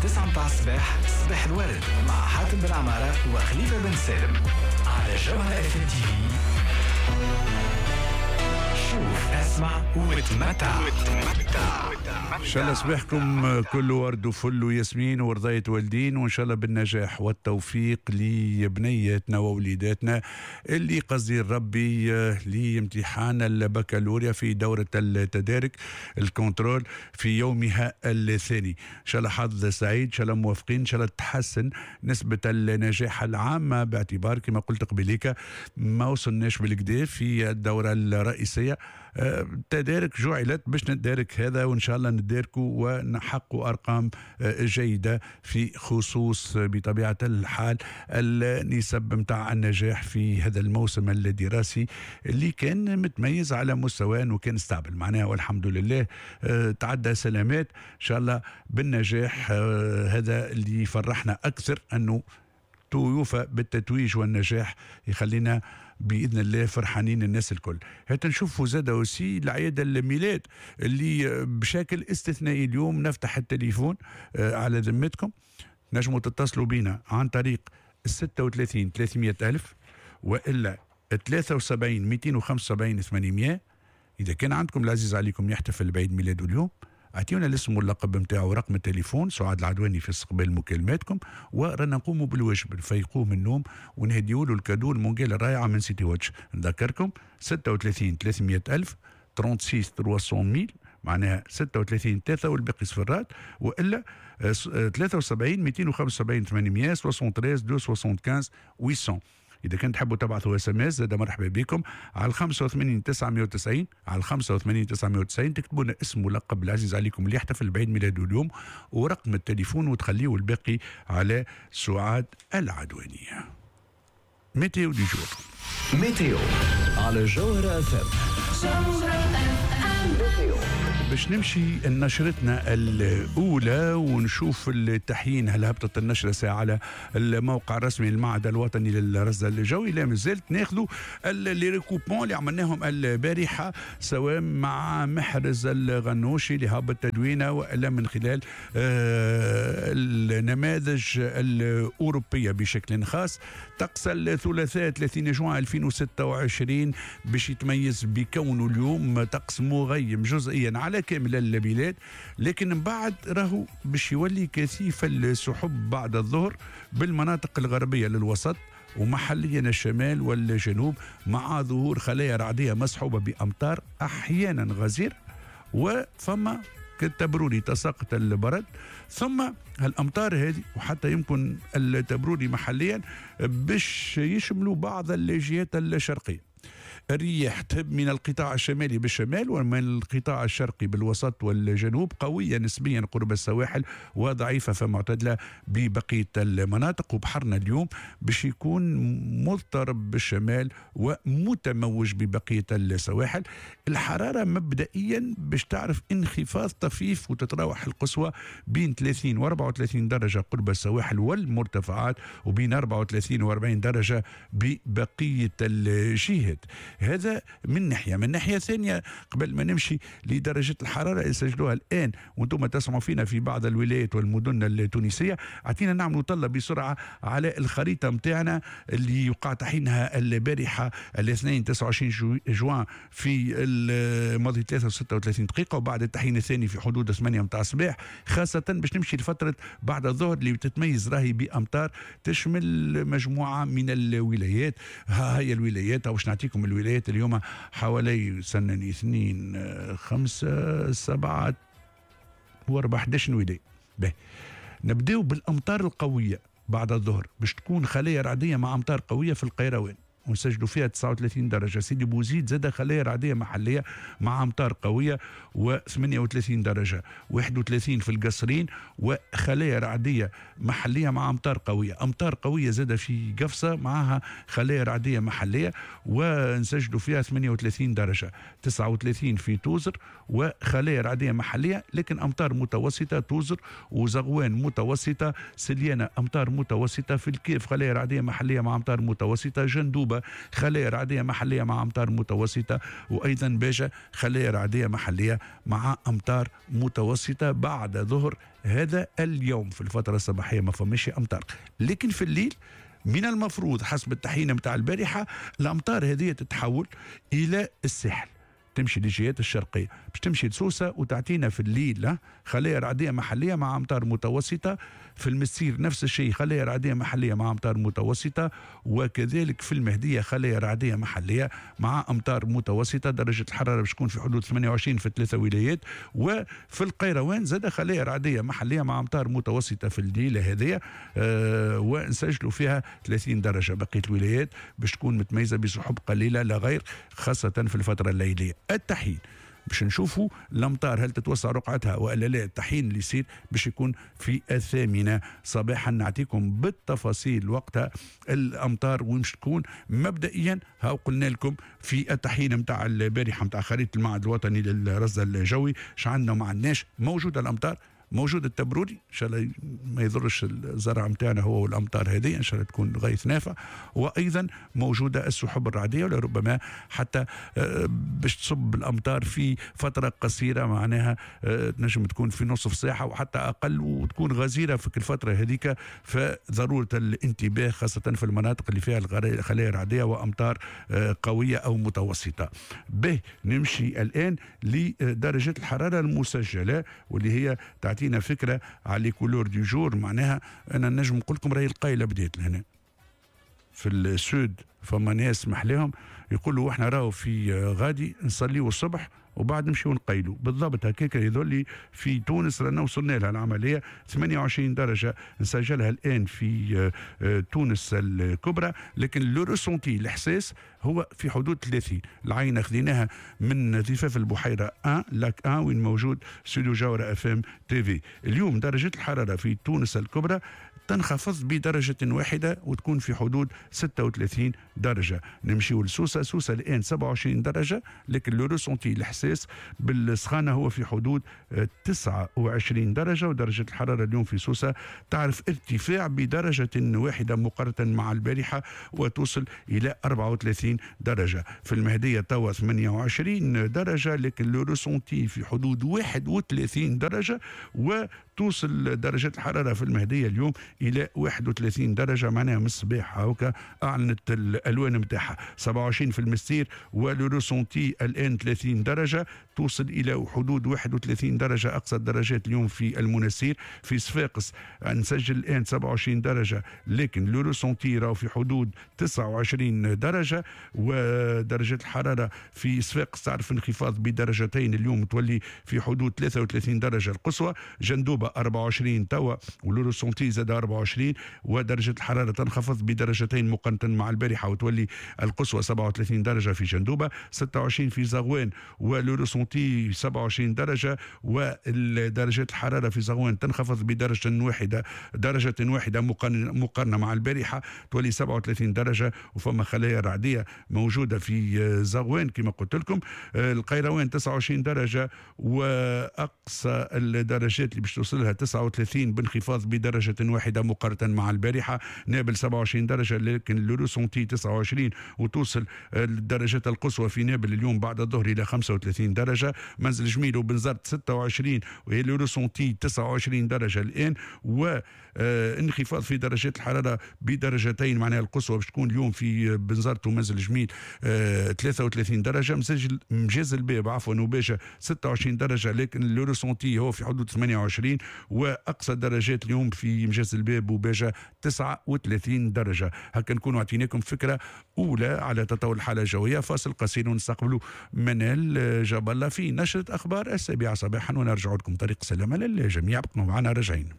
9 متاع الصباح، صباح الورد مع حاتم بن عمارة وخليفة بن سالم على جوهرة اف ام تي في. شوف، اسمع وتمتع. ان شاء الله صباحكم كله ورد وفل وياسمين ورضاية والدين، وان شاء الله بالنجاح والتوفيق لبنياتنا ووليداتنا اللي قصدي ربي لامتحان البكالوريا في دورة التدارك ال contrôle في يومها الثاني. ان شاء الله حظ سعيد، ان شاء الله موفقين، ان شاء الله تحسن نسبة النجاح العامة، باعتبار كما قلت قبليك ما وصلناش بالكدا في الدورة الرئيسية. تدارك جعلت باش ندارك هذا، وان شاء الله نداركوا ونحققوا ارقام جيدة في خصوص بطبيعة الحال النسب نتاع النجاح في هذا الموسم الدراسي اللي كان متميز على مستوى وكان stable معناها، والحمد لله تعدى سلامات ان شاء الله بالنجاح. هذا اللي يفرحنا اكثر انه توفى بالتتويج والنجاح، يخلينا باذن الله فرحانين الناس الكل. هات نشوفوا زاد aussi الأعياد الميلاد اللي بشكل استثنائي اليوم نفتح التليفون على ذمتكم، نجموا تتصلوا بينا عن طريق 36 300 ألف وإلا 73 275 800. إذا كان عندكم العزيز عليكم يحتفل بعيد ميلاده اليوم، اعطيونا الاسم واللقب نتاعو ورقم التليفون. سعاد العدواني في استقبال مكالماتكم، ورانا نقوموا بالواجب نفيقوه من النوم ونهديوا له ال cadeau المونجيل الرائعة من سيتي واتش. نذكركم 36 300 الف، 36 300 mille، معناها 36 3 والباقي صفرات، والا 73 275 800، 73 275 800. اذا كنت تحبوا تبعثوا SMS زاد مرحبا بكم على 85 990، على 85 990 تكتبوا لنا اسم ولقب العزيز عليكم اللي يحتفل بعيد ميلاده اليوم ورقم التليفون، وتخليه الباقي على سعاد العدوانيه. météo du jour. météo على جوهرة اف ام. باش نمشي نشرتنا الأولى ونشوف التحيين، هل هبطت النشرة ساعة على الموقع الرسمي للمعهد الوطني للرصد الجوي؟ لا مازلت. ناخذوا les recoupements اللي عملناهم البارحة، سواء مع محرز الغنوشي اللي هبط تدوينه، وإلا من خلال النماذج الأوروبية بشكل خاص. طقس الثلاثاء 30 جوان 2026 باش يتميز بكونه اليوم طقس مغيم جزئيا على كامل البلاد، لكن من بعد راهو باش يولي كثيف السحب بعد الظهر بالمناطق الغربية للوسط ومحليا الشمال والجنوب، مع ظهور خلايا رعدية مصحوبة بأمطار أحيانا غزير، وفما كالتبروري تساقط البرد. ثم الأمطار هذه وحتى يمكن التبروري محليا باش يشملوا بعض الجهات الشرقية. الرياح تهب من القطاع الشمالي بالشمال ومن القطاع الشرقي بالوسط والجنوب، قوية نسبيا قرب السواحل وضعيفة فمعتدلة ببقية المناطق. وبحرنا اليوم باش يكون مضطرب بالشمال ومتموج ببقية السواحل. الحرارة مبدئيا باش تعرف انخفاض طفيف وتتراوح القصوى بين 30 و 34 درجة قرب السواحل والمرتفعات، وبين 34 و 40 درجة ببقية الجهات. هذا من ناحية. من ناحية ثانية، قبل ما نمشي لدرجة الحرارة اللي سجلوها الآن وانتم تسمعوا فينا في بعض الولايات والمدن التونسية، اعطينا نعملوا طلة بسرعة على الخريطة متاعنا اللي يقع تحيينها البارحة الاثنين 29 جوان في الماضي 3 دقيقة، وبعد التحيين الثاني في حدود 8 متاع الصباح، خاصة باش نمشي لفترة بعد الظهر اللي تتميز راهي بأمطار تشمل مجموعة من الولايات. ها هي الولايات، باش نعطيكم الولايات اليوم حوالي سنن 2 5 7 و4 11 ولاية. باهي، نبداو بالأمطار القوية بعد الظهر، باش تكون خلايا رعدية مع أمطار قوية في القيروان ونسجلوا فيها 39 درجة. سيدي بوزيد زاد خلايا رعدية محلية مع أمطار قوية و38 درجة، 31 في القصرين وخلايا رعدية محلية مع أمطار قوية. أمطار قوية زاد في قفصة معها خلايا رعدية محلية ونسجلوا فيها 38 درجة، 39 في توزر وخلايا رعدية محلية لكن أمطار متوسطة، توزر وزغوان متوسطة، سليانة أمطار متوسطة، في الكيف خلايا رعدية محلية مع أمطار متوسطة، جندوبة جندوبه خلايا رعديه محليه مع امطار متوسطه، وايضا باجه خلايا رعديه محليه مع امطار متوسطه بعد ظهر هذا اليوم. في الفترة الصباحية ما فماش امطار، لكن في الليل من المفروض حسب التحيين متاع البارحة الامطار هذه تتحول الى الساحل، تمشي للجهات الشرقية باش تمشي لسوسه وتعطينا في الليل خلايا رعديه محليه مع امطار متوسطه. في المسير نفس الشيء، خلايا رعديه محليه مع امطار متوسطه، وكذلك في المهدية خلايا رعديه محليه مع امطار متوسطه. درجه الحرارة باش تكون في حدود 28 في 3 ولايات. وفي القيروان زاد خلايا رعديه محليه مع امطار متوسطه في الليلة هذه ونسجلوا فيها 30 درجه. بقية الولايات باش تكون متميزة بسحب قليله لا غير، خاصة في الفترة الليلية. التحيين باش نشوفوا الامطار هل تتوسع رقعتها والا لا. التحيين اللي يصير باش يكون في 8 صباحا، نعطيكم بالتفاصيل وقتها الامطار وين باش تكون. مبدئيا ها قلنا لكم في التحيين نتاع البارحة نتاع خريطة المعهد الوطني للرصد الجوي اش عندنا وما عندناش. موجودة الامطار، موجود التبروري، ان شاء الله ما يضرش الزرع نتاعنا هو والامطار هذه، ان شاء الله تكون غيث نافع. وايضا موجودة السحب الرعديه، ولربما حتى باش تصب الامطار في فترة قصيرة، معناها تنجم تكون في نصف ساعة وحتى اقل، وتكون غزيرة في الفترة هذيك. فضروره الانتباه خاصة في المناطق اللي فيها الخلايا الرعديه وامطار قوية او متوسطه. به نمشي الان لدرجة الحرارة المسجلة واللي هي تعطينا فكرة على les couleurs du jour. معناها انا نجم نقول لكم راهي القايله بدات لهنا في ال sud، فما ناس محلاهم يقولوا احنا راهو في غادي نصليو الصبح وبعد نمشيو نقيلوا. بالضبط هكاك يظل في تونس رانا وصلنا لها العملية. 28 درجه نسجلها الان في تونس الكبرى، لكن le ressenti الاحساس هو في حدود 30. العينة خذيناها من ضفاف البحيرة 1 lac 1 وين موجود استوديو جوهرة FM TV. اليوم درجه الحرارة في تونس الكبرى تنخفض بدرجة واحدة وتكون في حدود 36 درجة. نمشيو لسوسة، سوسة الآن 27 درجة، لكن le ressenti الإحساس بالسخانة هو في حدود 29 درجة. ودرجة الحرارة اليوم في سوسة تعرف ارتفاع بدرجة واحدة مقارنة مع البارحة وتوصل إلى 34 درجة. في المهدية توا 28 درجة، لكن le ressenti في حدود 31 درجة، وتوصل درجة الحرارة في المهدية اليوم إلى 31 درجة، معناها من الصباح هاكا أعلنت الألوان نتاعها. 27 في المستير و le ressenti الآن 30 درجة، توصل إلى حدود 31 درجة أقصى الدرجات اليوم في المنستير. في صفاقس نسجل الآن 27 درجة، لكن le ressenti راهو في حدود 29 درجة. ودرجة الحرارة في صفاقس تعرف انخفاض بدرجتين اليوم، تولي في حدود 33 درجة القصوى. جندوبة 24 توا و le ressenti زاد 24، ودرجة الحرارة تنخفض بدرجتين مقارنة مع البارحة وتولي القصوى 37 درجة في جندوبة. 26 في زغوان و le ressenti 27 درجة، ودرجة الحرارة في زغوان تنخفض بدرجة واحدة، درجة واحدة مقارنة مع البارحة تولي 37 درجة. وفما خلايا رعدية موجودة في زغوان كما قلت لكم. القيروان 29 درجة، وأقصى الدرجات اللي باش توصلها 39 بانخفاض بدرجة واحدة مقارنة مع البارحة. نابل 27 درجة، لكن le ressenti 29، وتوصل الدرجات القصوى في نابل اليوم بعد الظهر إلى 35 درجة. منزل جميل وبنزرت 26 وهي le ressenti 29 درجة الآن، وانخفاض في درجات الحرارة بدرجتين، معناها القصوى باش تكون اليوم في بنزرت ومنزل جميل 33 درجة. مجاز الباب عفوا وباجة 26 درجة، لكن le ressenti هو في حدود 28، واقصى درجات اليوم في مجاز الباب وباجة 39 درجة. هكا نكونوا اعطيناكم فكرة أولى على تطور الحالة الجوية. فاصل قصير ونستقبلوا منال جاب الله في نشرة أخبار 7 صباحا، ونرجع لكم طريق سلامة للجميع. بقوا معنا راجعين.